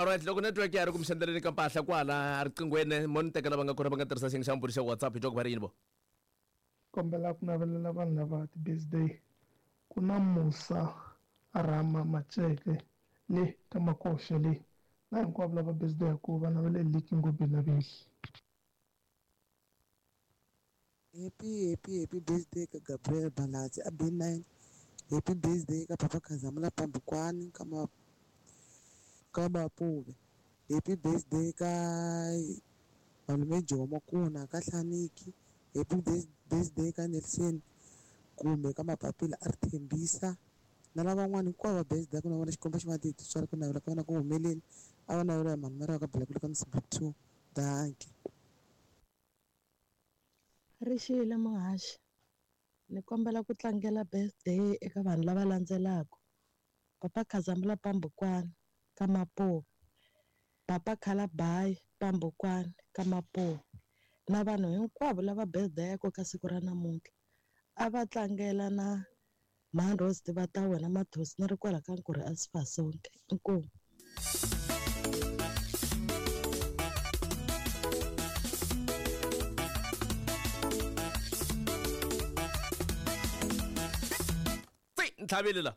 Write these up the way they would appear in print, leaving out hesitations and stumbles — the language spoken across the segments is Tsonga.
Alright, loko network ya ha ri ku mi xendeleni ka mpahla kwala riqinghweni mo ni teka lava nga kona va nga tirhisa xiyenge xa mbhuri xa WhatsApp hi twa ku va ri yini vo. Kombela ku navelela vanhu lava ti-birthday ku na Musa Rama Maceke le ka Makoxe le na hinkwavo lava birthday-aku va naveleli Liki Ngobeni na Vehli. Happy happy happy birthday ka Gabriel Balatsi a B9 happy birthday ka Papa Khazamula Pambukwani ka ma ka Mapuve happy birthday ka Malume Jomo Kuna ka Hlaniki happy birthday ka Nelson kumbe ka Mapapila a ri Thembisa na lavan'wana hinkwavo va birthday ku na vona Xikwembu xi va titswala ku navela ka vona ku humeleli a va navela mhani Mariya ka Bela ka Msibu 2 dankie. Ri xile muhaxi ni kombela ku tlangela birthday eka vanhu lava landzelaka papa Khazamula Pambukwani ka Mapuve papa Khalabayi Pambukwani ka Mapuve na vanhu hinkwavo lava birthday-aka ka siku ra namuntlha a va tlangela na Mhani Rose tiva ta wena Mathosi ni ri kwala ka Nkurhi a Sifasonke inkomu. Tsi ntlhavile la.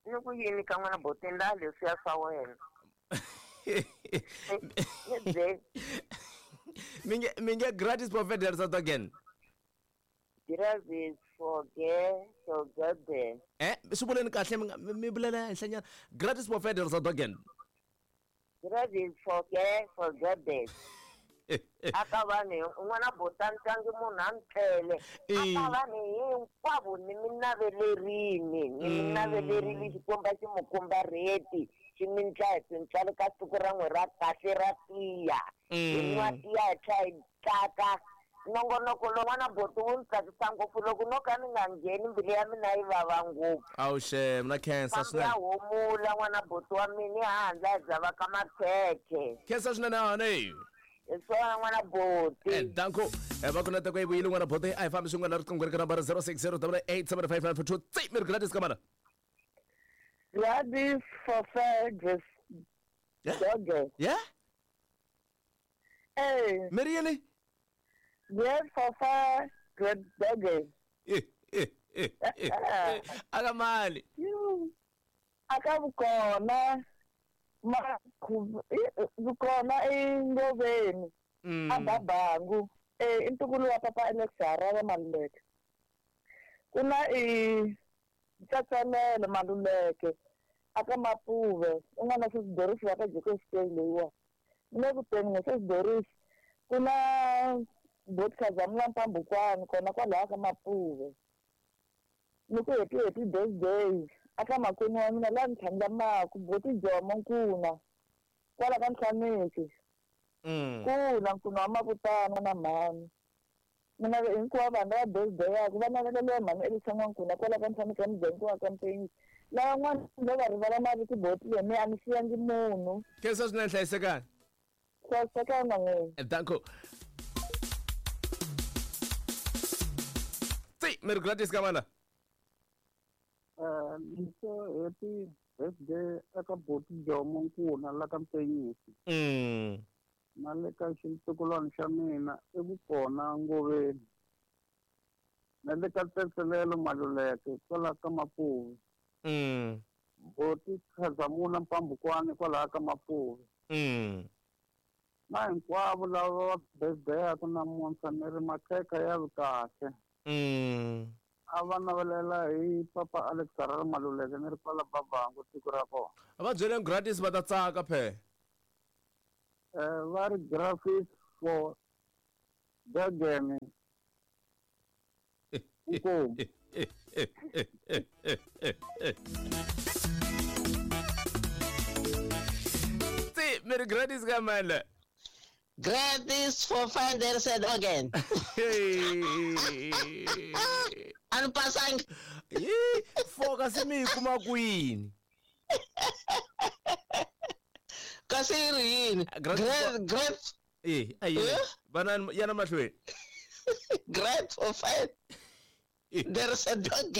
Ni ku yini ka n'wana boti ndla leswiya swa wena. Ni byeli. Mi nge gratis for South again. Gratis for ge for gede. Eh, swi vuleni kahle mi nga mi vulela henhlanyana. Gratis for Federal South again. Gratis for ge for gede. Aka vanhu n'wana bota ntlangi munhu a ntlele. Aka vanhu hinkwavo ni mi navelerini, ni mi navelerile Xikwembu a xi mi komba rheti, xi mi ndla hi tintswalo ka siku ra n'we ra kahle ra tiya. Hi nwa tiya hi tlhela hi tsaka. Nongonoko lowu n'wana boti wu ni tsakisa ngopfu loko no ka ni nga ngheni mbilu ya mina yi vava ngopfu. Awu xem na khensa Fambi ya swinene. humula n'wana boti wa mina hi handla hi byava ka makhekhe. Khensa swinene honey. Hi swona n'wana boti. Eh, danko eh, va ku na teko yi vuyile n'wana boti a hi fambi swin'wana na riqingho ri ka nambara 060 875 tsi mi ri gratis ka mana. Gladys for fair Yeah. Doge. Yeah? Eh, Mi ri yini? Great for fair great doge. Aka mali. Aka vukona ma vukona engoveni a babangu eh i ntukulu wa papa Alex Harare Maluleke. Ku na i Tsatsanelo Maluleke aka Mapuve u nga na Sis Doris wa ka Jacobs Bay leyiwa. Ni le ku teni n'we Sis Doris ku na Boti Khazamula Mpambukwani kona kwalaya ka Mapuve. Ni ku happy happy birthday aka makwenu wa mina laha ni tlhandlamaku Boti Jomo Nkuna kwala ka Nhlaneki. Nkuna Nkuna wa Mavutana na mhani. Mina hinkwavo vanhu lava birthday-aku va naveleliwa mhani Elisa N'wankuna kwala ka Nhlaneki ya muganga wa ka Mpenzi. Lavan'wana no va rivala mavito boti leyi mi a ni siyangi munhu. Khensa swinene hlayisekani. Hlayisekani na n'wina. Danko. Tsi mi ri gratis ka mana. Ni so happy birthday eka boti Jomo Nkuna la ka Mpenyisi. Na le ka xintukulwana xa mina i vukona Ngoveni. Na le ka Tsetselelo Maluleke kwala ka Mapuve. Boti Khazamula Mpambukwani kwalaha ka Mapuve. Na hinkwavo lava va birthday-aku namuntlha ni ri makhekhe ya vi kahle. A va navelela hi papa Alex Harare Maluleke ni ri kwala Babangu tiko ra kona. Va byeleni gratis va ta tsaka phe. Va ri graphics for Durban. Inkomu. Tsi mi ri gratis ka mani. Gratis for finder said again. A ni pasangi. Yi, four kasi mi yi kuma kwini? Kasi yi ri yini? Gratis for Great, great. Eh, a yi. Eh? Vana yana mahlweni. Great for five. There is a dog.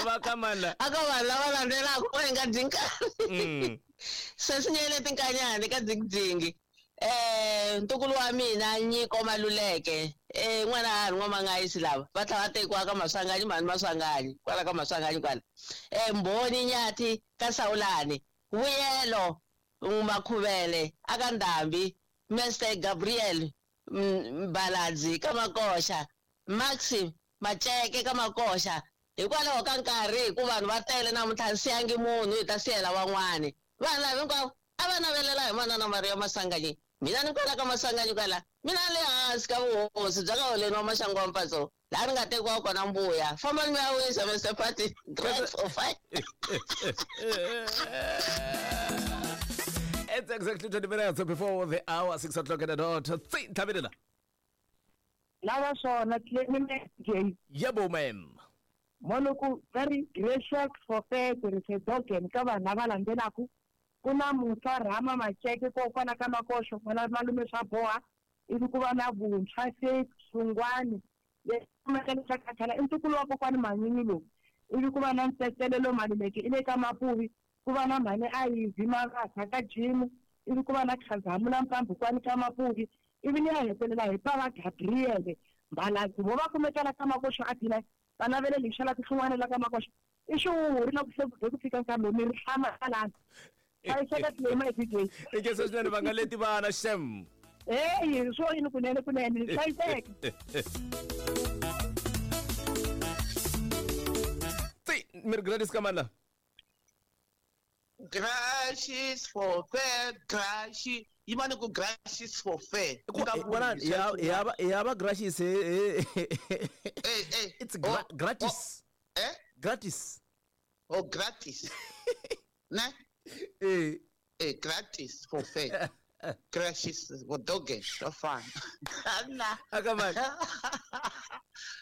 Va ka mani la? A ka vanhu lava landzelaka va hi nga dyi nkarhi. Sesinyele tinkanyani ka dzingidzingi. Ntukulu wa mina Nyiko Maluleke. N'wana ha ri n'wamangayisi lava va tlhela va tekiwa ka Maswanganyi mhani Maswanganyi kwala ka Maswanganyi kwala. Mbhoni Nyathi ka Sawulani. Vuyelo Makhuvele aka Ndhambi. Mr Gabriel Mbaladzi ka Makoxa. Maxi Maceke ka Makoxa. Hikwalaho ka nkarhi hi ku vanhu va tele namuntlha ni siyangi munhu hi ta siyela van'wani. Vanhu lava hinkwavo a va navelela hi manana Maria Maswanganyi. Mina ni kwala ka Maswanganyi kwala. Mina le hansi ka vuhosi bya ka Holeni wa Maxangu wa Mpatso. Laha ni nga tekiwa kona mbuya. Fambani mi ya wisa Mr Party. 3 4 5. It's exactly 20 minutes before the hour, 6 o'clock at the dot. Tsi, Thabelela. Lava swona Clement J. Yebo ma'am. Moloko very gracious for fair there is a dog and ka vanhu lava landzelaka ku na Musa Rama Maceke kokwana ka Makoxo n'wana malume swa boha ivi ku va na Vuntshwa Faith Sungwani leswi i ntukulu wa kokwani Manyunyu lowu ivi ku va na Ntetelelo Maluleke i le ka Mapuvi ku va na mhani Ivy Mavasa ka Jimu ivi ku va na Khazamula Mpambukwana ka Mapuvi ivi ni ya hetelela hi Pava Gabriel Mbaladzi vo va kumekela ka Makoxo a Dina va navele lexi la tin'wana la ka Makoxo i xihuhuri na ku se ku fika nkarhi lowu mi ri hlamalana hlayiseka tlema hi DJ I nge swinene va nga leti vana shem. Hey, swo yini kunene kunene hlayiseka. Tsi, mi ri Gladys ka mani la? Gracious for fair, gracious. Yimani ku gracious for fair. Vona ya va gracious. It's gratis. Gratis. Oh, gratis. Ne? Gratis for fair. Gracious for dog so fun. Akamani.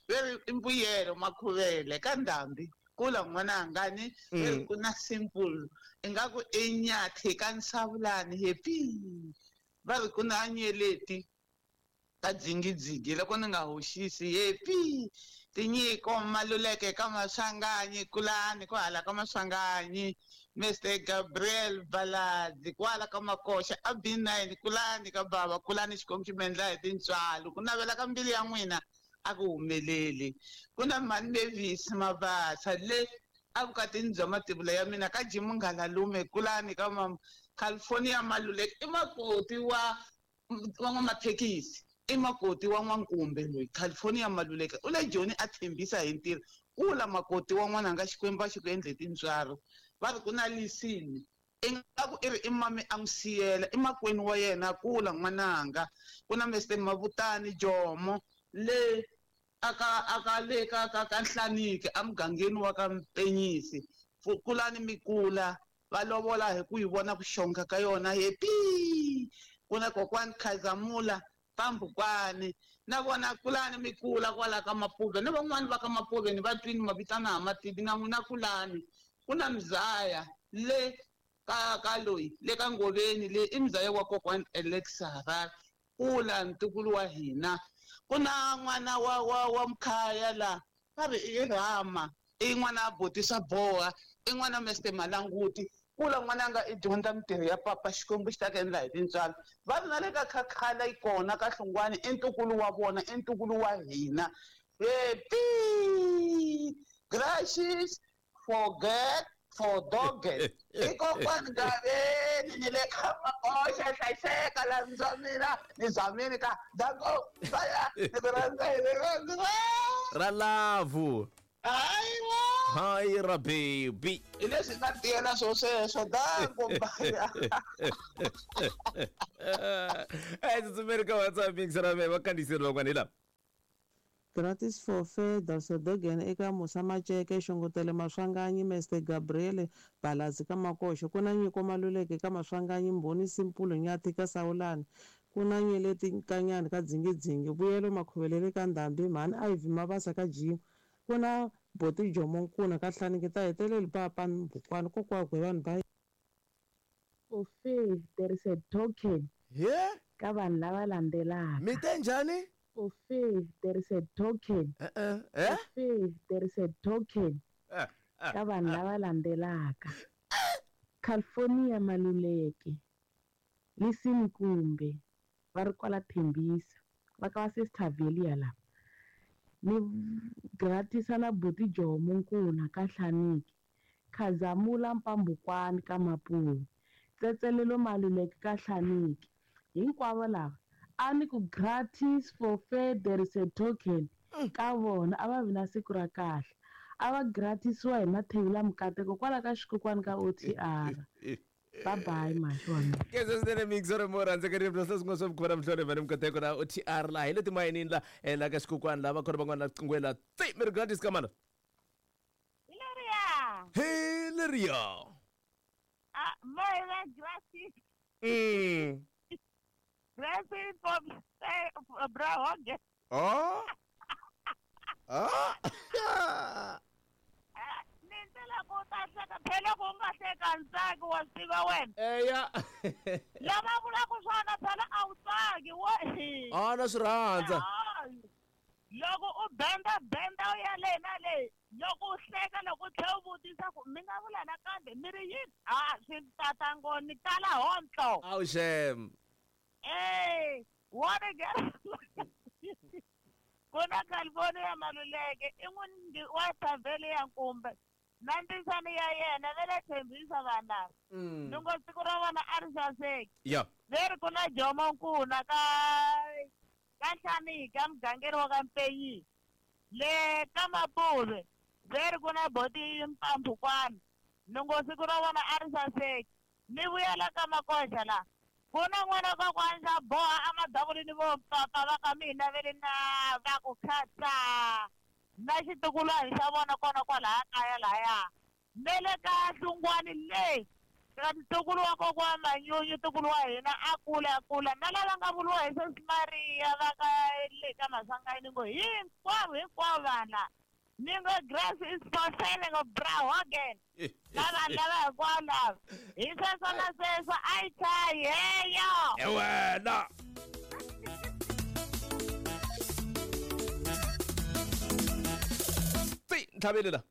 Very imbuyelo Makhuvele ka Ndhambi. Kula n'wananga ni ku na simple ingaku i Nyathi ka Nsavulani happy va ri ku na Nyeleti ka Dzingidzingi loko ni nga hoxisi happy Tinyiko Maluleke ka Maswanganyi kulani ku hala ka Maswanganyi Mr Gabriel Baladzi kwala ka Makoxa a B9 kulani ka bava kulani xikwembu xi mi endla hi tintswalo ku navela ka mbilu ya n'wina a ku humeleli ku na mhani Mavis Mabasa le evukatini bya mativula ya mina ka Jimu Ngalalume kulani ka mama California Maluleke i makoti wa n'wamathekisi i makoti wa n'wankumbe loyi California Maluleke u le Joni a tshembisa hi ntirho kula makoti wa n'wananga Xikwembu a xi ku endle tintswalo va ri ku na lisini ingaku i ri i mami a n'wi siyela i makwenu wa yena kula n'wananga ku na Mr Mavutani Jomo le aka le ka ka ka Nhlaniki emugangeni wa ka Mpenyisi kulani mikula va lovola hi ku yi vona ku xonga ka yona happy ku na kokwani Khazamula Pambukwani na vona kulani mikula kwala ka Mapuve ni van'wani va ka Mapuve ni va twini mavitana ha mativi na n'wina kulani ku na Mzaya le ka ka loyi le ka Ngoveni le i Mzaya wa kokwani Alex Harare kula ntukulu wa hina ku na n'wana wa Mkhaya la va ri i Rama i n'wana botisa boha i n'wana Mr Malanguti kula n'wananga i dyondza mintirho ya papa Xikwembu xi ta ku endla hi tintswalo va ri na le ka Khakhala yi kona ka Hlungwani i ntukulu wa vona i ntukulu wa hina happy gracious forget for dog i kokwani Gaveni ni le ka Makoxa hlayiseka la ndzamina ni zamini ka dango baya ni ku rhandza hi rirhandzu ra love. Hayiwa hayi ra baby hi leswi nga tiyela swo sweswo dango baya. Tsutsumeri ka WhatsApp mixer me va kandziyiseri van'wana hi lava. Gratis for fair Dalsodogan eka Musa Maceke Xongotele Maswanganyi Mr Gabriel Baladzi ka Makoxo ku na Nyiko Maluleke ka Maswanganyi Mbhoni Simpulo Nyathi ka Sawulani ku na Nyeleti Nkanyani ka Dzingidzingi Vuyelo Makhuvelele ka Ndhambi mhani Ivy Mabasa ka Jimu ku na Boti Jomo Nkuna ka Hlaniki ta heteleli papa Mbukwani kokwakwe vanhu ba For fair there is a token yeah ka vanhu lava landzelaka mi te njhani? For fair there is a token. For fair there is a token. Ka vanhu lava landzelaka. California Maluleke, Listen Kumbe, va ri kwala Thembisa, va ka va Sister Velia lava. Ni gratisa na buti Jomo Nkuna ka Hlaniki, Khazamula Mpambukwani ka Mapuwe, Tsetselelo Maluleke ka Hlaniki. Hinkwavo lava a ni ku gratis for fair there is a token ka vona a va vi na siku ra kahle. A va gratisiwa hi Mathevula Mukateko kwala ka xikokwani ka OTR. Bye bye mashona. Keza swinene mixore mo rhandzeka ri bya swin'wana swa vukhora mhlole vane Mukateko na OTR laha hi le timayinini la la ka xikokwani la va khona van'wana la tsi mi ri gratis ka mana. Hi leriya. Hi leriya. Ah, my gratis. Gratis for bra hoge. Oh. Ah. Phela ku nga hleka ntsaki wa swi tiva wena. Eya. Lava vulaka swona phela a wu tsaki wo. Ah, na swi rhandza. Loko u benda benda u ya le na le, loko u hleka loko u tlhela u vutisa ku mi nga vula nakambe mi ri yini? Ah, swi tata ngoni tala hontlo. Awu xem. Eh, what again? Ku na California Maluleke i n'wini wa Thavhele ya Nkumbe. Na ntisani ya yena va le Thembisa vanhu lava. Ni ngo siku ra vona a ri saseki. Ya. Ve ri ku na Jomo Nkuna ka Hlaniki ka mugangeri wa ka Mpenyi. Le ka Mapuve ve ri ku na Boti Mpambukwana. Ni ngo siku ra vona a ri saseki. Ni vuyela ka Makoxa la. Ku na n'wana kokwani xa boha a madavulini vo papa va ka mina ve ri na va ku khatsa. Na xitukulwana xa vona kona kwalaya kaya lahaya. Ne le ka Hlungwani le ka ntukulu wa kokwana Manyunyu ntukulu wa hina a kula a kula na lava nga vuriwa hi Sesi Maria va ka le ka Maswanganyi ni ngo hinkwavo hinkwavo vanhu ni ngo grass is for selling of bra hogan. Na vanhu lava hinkwavo lava hi sweswo na sweswo a yi chayi heyo. He wena. Ntlhaveli la.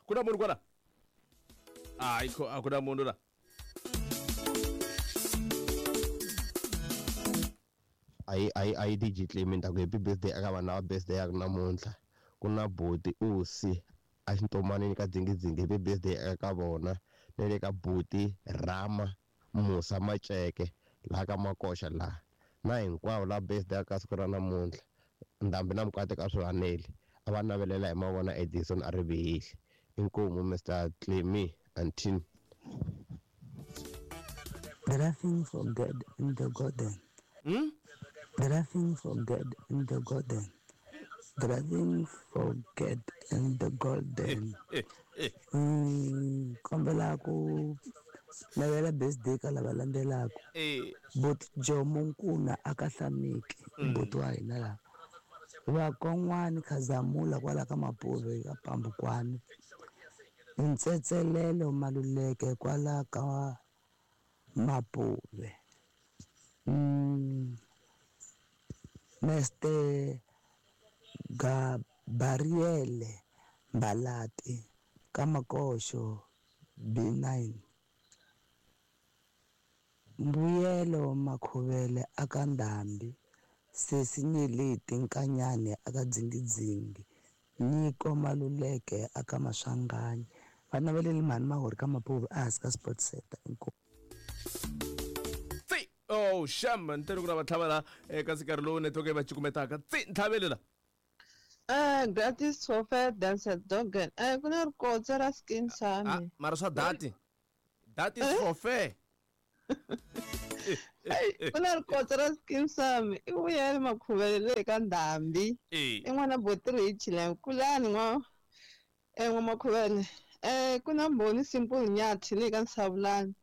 Ku na munhu kwala? Hayi kho a ku na munhu la. Ayi DJ Clement ku happy birthday aka vanhu lava birthday ya namuntlha. Ku na Boti Usi a xintomanini ka Dzingidzingi happy birthday aka vona. Na le ka Boti Rama Musa Maceke laha ka Makoxa laha. Na hinkwavo lava birthday aka siku ra namuntlha. Ndhambi na Mukateko a swi haneli. A va navelela hi mavona Edison a ri vihile. Inkomu Mr. Clemmy and team. Driving for God in the garden. Driving for God in the garden. Driving for God in the garden. Kombela ku navela birthday ka lava landzelaka. Bot Jomo Nkuna aka Hlaniki, buti wa hina laha. Vakon'wani Khazamula kwala ka Mapuve ka Pambukwani. Ntsetselelo Maluleke kwala ka Mapuve. Mr. Gabriele Mbalati ka Makoxo B9. Mbuyelo Makhuvele aka Ndhambi. Sesi Nyeleti Nkanyane aka Dzingidzingi. Nyiko Maluleke aka Maswanganyi. Va naveleli mhani Mahori ka Mapuve ehansi ka Sports Center. Inkomu. Tsi! Oh, sham, ntirho ku na vatlhava la eka nkarhi lowu network yi va cukumetaka. Tsi, ntlhaveli la. Gratis for fair dancer dogan. Ku na rikotsa ra skin sami. Mara swa dati. That is for fair. Ku na rikotsa ra skin sami. I vuyele Makhuvele le ka Ndhambi. I n'wana Boti Rich la kulani n'wa n'wa Makhuvele. Ku na Mbhoni Simple Nyathi le ka Nsavulani.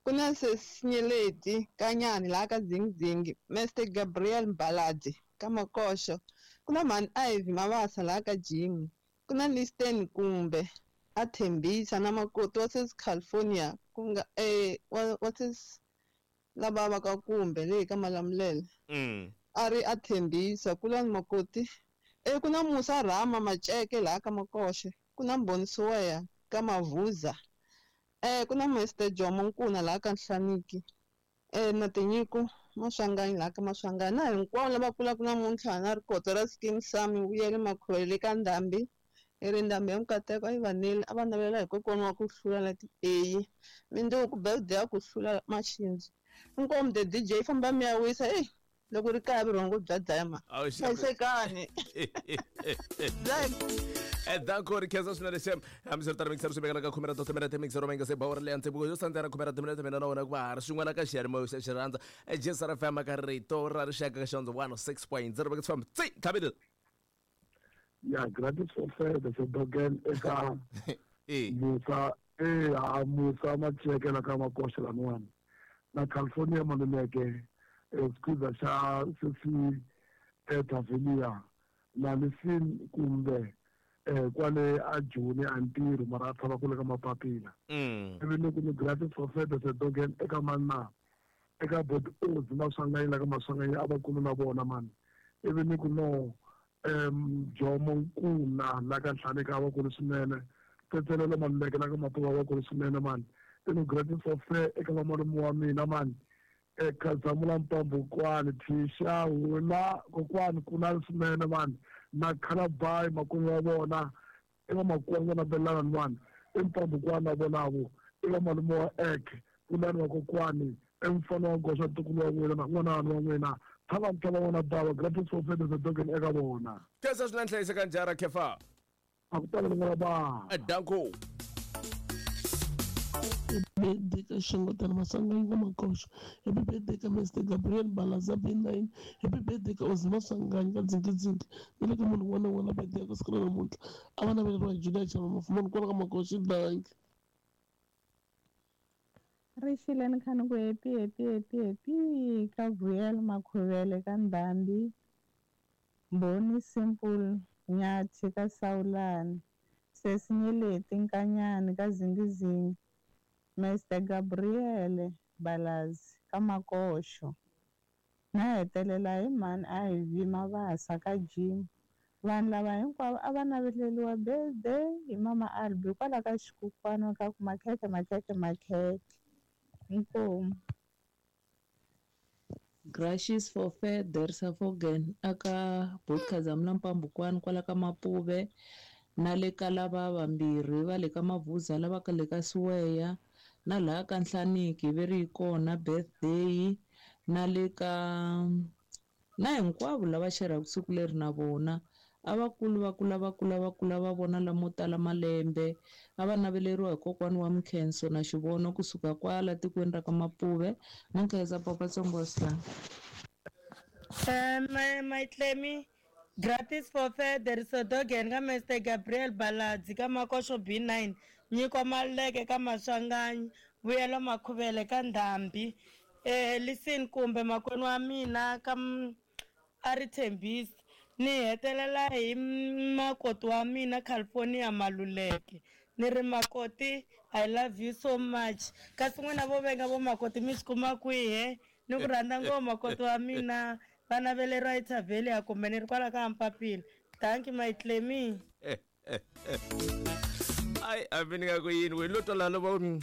Ku na Sesinyeleti Kanyani laha ka Dzingidzingi. Mr. Gabriel Mbaladi ka Makoxo. Ku na Mhani Ivy Mabasa laha ka Jimmy. Ku na Listen Kumbe a Thembisa na makoti wa Sesi California ku nga wa Sesi lava va ka Kumbe le ka Malamulele. A ri a Thembisa, kulani makoti. Ku na Musa Rama Maceke laha ka Makoxe, ku na Mbhoni Siweya ka Mavuza. Ku na Mr Jomo Nkuna laha ka Nhlaniki. Na Tinyiko Maswanganyi laha ka Maswanganyi. Na hinkwavo lava kulaka namuntlha na rikotso ra Skeem Saam Vuyele Makhuvele ka Ndhambi. I ri Ndhambi ya Mukateko a yi va neli, a va navelela hi kokwana wa ku hlula na ti-A. Mindzuku birthday ya ku hlula Maxindzi. Inkomu the DJ famba mi ya wisa, hey, loko ri kaya vurhongo bya dlaya ma. Hlayisekani. Danko ri khensa swinene xem hambiswiritano mixero swi vekela ka khume ra timinete mixero va nga se bawura leya ntsevu yo sandzela khume ra timinete mina na wena ku va ha ri swin'wana ka xiyanimoya xa xirhandza JSR FM ka rito ra rixaka ka xondzo 106.0 veka swi tsi tlhavile. Ya gratis for fair the dogen eka Musa Musa Macheke la ka Makoxe laniwani na California Maluleke squeeze xa sesi Tavelia na Lisin kumbe kwale a Joni a ntirho mara a tshama kule ka mapapila. Ivi ni ku ni gratis for fair the dogen eka manna eka bot Oz Maswanganyi la ka Maswanganyi a va kulu na vona mani. Ivi ni ku no Jomo Nkuna la ka Nhlaneka a va kulu swinene, Tsetselelo Maluleke la ka Matuva va kulu swinene mani. Ni gratis for fair eka vamalume wa mina mani, Khazamula Mpambukwani Thisha Hula kokwani kuna swinene mani, na Khalabai makwenu wa vona eka makwenu na Belana mani, i Mpambukwani na vonavo i vamalume wa Ek kulani wa kokwani i mfana wa goxa ntukulu wa n'wina na n'wana wa n'wina thava ntlhava vona bava gratis for fair the dogen eka vona. Khensa swinene hlayiseka njhara Khefa. A ku tala n'wana ba. Danko. Happy birthday ka Xongotana Maswanganyi ka Makoxo. Happy birthday ka Mr Gabriel Balaza B9. Happy birthday ka Ozi Maswanganyi ka Dzingidzingi. Ni le ka munhu un'wana na un'wana birthday ya ku siku ra namuntlha. A va naveleriwa hi Julia Chama Mafumani kwala ka Makoxo. Danki. Rixile ni kha ni ku happy happy happy happy ka Vuyelo Makhuvele ka Ndhambi. Mbhoni Simple Nyathi ka Sawulani. Sesi Nyeleti Nkanyani ka Zingizingi. Mr Gabriel Balazi ka Makoxo. Na hetelela hi mhani a hi vi Mabasa ka Jim. Vanhu lava hinkwavo a va naveleriwa birthday hi mama Albi kwala ka xikukwana ka ku makhekhe makhekhe makhekhe. Inkomu. Gracious for fair dersa fogen aka Botkazamla Mpambukwani kwala ka Mapuve na le ka lava vambirhi va le ka Mavuza lava ka le ka Siweya na laha ka Nhlaniki ve ri kona birthday na le ka na hinkwavo lava xerhaka siku leri na vona a va kulu va kula va kula va kula va vona lamo tala malembe a va naveleriwa hi kokwani wa Mkhenso na Xivono kusuka kwala tikweni ra ka Mapuve na Nkhensa Papa Tsongo. My Clemmy gratis for fair there is a dog and ka Mr Gabriel Baladzi ka Makoxo B9 Nyiko Maluleke ka Maswanganyi Vuyelo Makhuvele ka Ndhambi Listen kumbe makwenu wa mina ka a ri Thembisi ni hetelela hi makoti wa mina California Maluleke ni ri makoti I love you so much kasi n'wina vo venga vo makoti mi swi kuma kwihi ni ku rhandza ngopfu makoti wa mina va naveleriwa eTavelia kumbe ni ri kwala ka Mpapila. Thank you my Clemmy. Ai a mi ni nga ku yini we lo twala lo va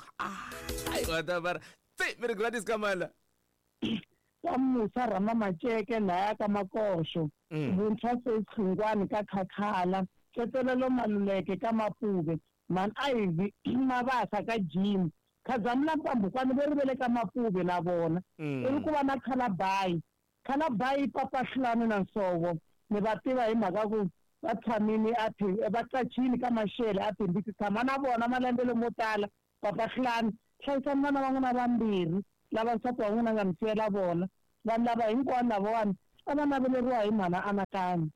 ai wa ta va tsi mi ri Gladys Kamala ka Musa Rama Maceke laya ka Makoxo. Vuntshwa Sechungwani ka Khakhala, Tsetselelo Maluleke ka Mapuve, Man Ivy Mabasa ka Jim, Khazamula Mpambukwani ve ri ve le ka Mapuve na vona. Ivi ku va na Khalabai. Khalabai Papa Hlulani na Nsovo ni va tiva hi mhaka ku va tshamini a va qachini ka Maxele a Thembisi tshama na vona malembe lamo tala. Papa Hlulani hlayisani vana va n'wina vambirhi lava nsati wa n'wina nga mi siyela vona. Vanhu lava hinkwavo lavawani a va naveleriwa hi mhana Anakanyo.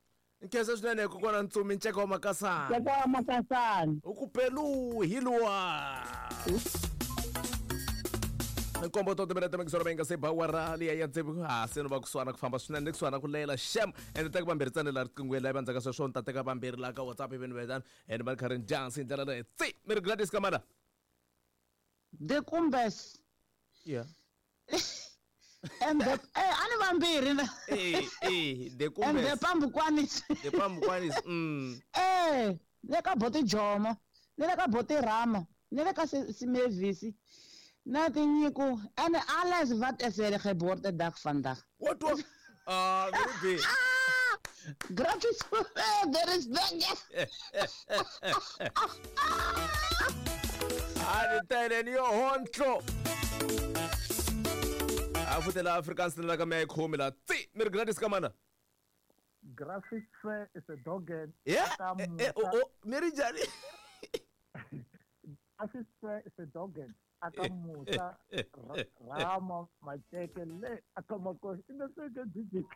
Nkhensa swinene kokwana Ntsumi Nceka wa Makasana. Nceka wa Makasana. U ku pelu hi luwa. Nkombo to timinete mixoro va nga se bawara liya ya tsevu ha se no va kusuhana ku famba swinene kusuhana ku lela xem ende teka vambirhi tsane la riqingweni la vandzaka sweswo ni ta teka vambirhi la ka WhatsApp ivi ni vetana ende va ri karhi ni dyansi hi ndlela leyi tsi mi ri Gladys Kamala The Kumbes. Yeah. And the a ni vambirhi na. The And the Kumbes. Pambukwanis. The Pambukwanis. Le ka Boti Jomo, ni le ka Boti Rama, ni le ka Simevisi. Na tinyiko en alles wat is er geboortedag vandag. Wat wat? Ah, very big. Gratis. There is that. A ni tele ni yo hontlo. A futela Afrikaans la ka me khomi la. Tsi, mi ri gratis ka mana. Graphic fair is a dog and Yeah. Oh, mi ri njhani? Graphic fair is a dog and aka Musa Rama Macheke le aka Makosi in the second digit.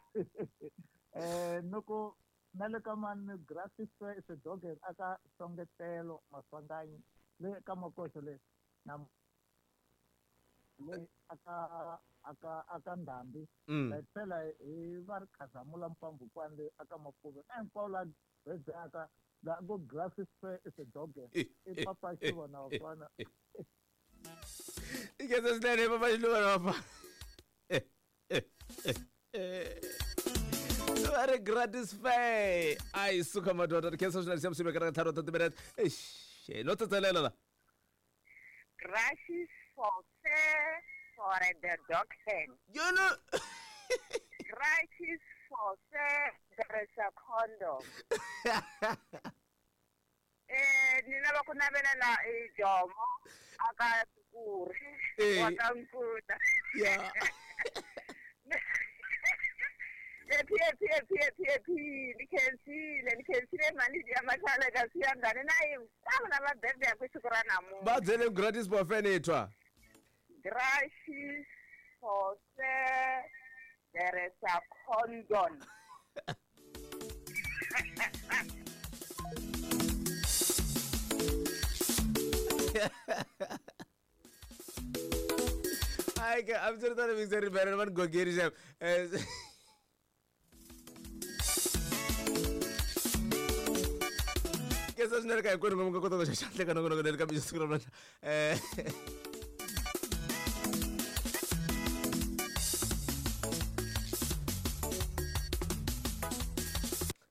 Noko nale ka man graphic fair is a dog and aka Songetelo Maswanganyi le ka Makosi le na le aka aka aka Ndambi. La tlhela hi va ri Khazamula Mpambukwana le aka Mapuve na hinkwavo la aka la go graphic fair is a dog i papa xivona wa kona. I khensa swinene papa Xiluva na vafana. Va ri gratis fair. A yi suka madoda, khensa swinene siya msibe ka tharo ta timinete. Eish, no tsetselela la. Gratis for fair for the dog hand. You know. Gratis for fair there is a condom. Ni lava ku navelela Jomo aka Tukuri wa ka Nkuna. Yeah. Happy happy happy happy happy ni khensile mali ya mathala ka siyangane na hinkwavo lava birthday ku siku ra namuntlha. Va byele gratis for fair ni twa. Gratis for fair there is a condom. Ai ke I'm sure that we very better man gogeri jam. Kesa swinene ka hinkwenu mi nga kota ku xaxandle ka nongonoko leri ka mixo siku ra namuntlha.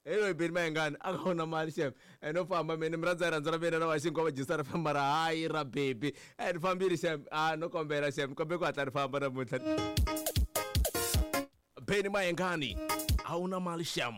Hello Beni Mayengani a ka wona mali xem. No famba mina mi rhandza rhandza ra mina na va xinkwa va jisa ra famba ra hayi ra baby. Ni fambile xem. No kombela xem, kombe ku hatla ni famba namuntlha. Beni Mayengani a wu na mali xem.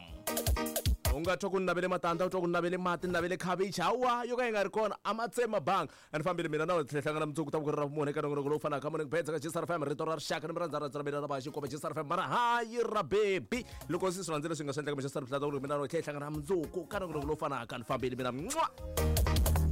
U nga twa ku ni navele matandza, u twa ku ni navele mati, ni navele khavichi, hawa yo ka yi nga ri kona a ma tsema banga. A ni fambile mina na wena tlhela hlangana mundzuku ta ku ri ra vumune eka nongonoko lowu fanaka morning bets ka Jisar FM, rito ra rixaka ni mi rhandza rhandza ra mina na va xinkwa va Jisar FM mara hayi ra baby. Loko se swi rhandzile swi nga swi endleka mi Jisar FM mina na wena tlhela hlangana mundzuku ka nongonoko lowu fanaka. Ni fambile mina. Mwah!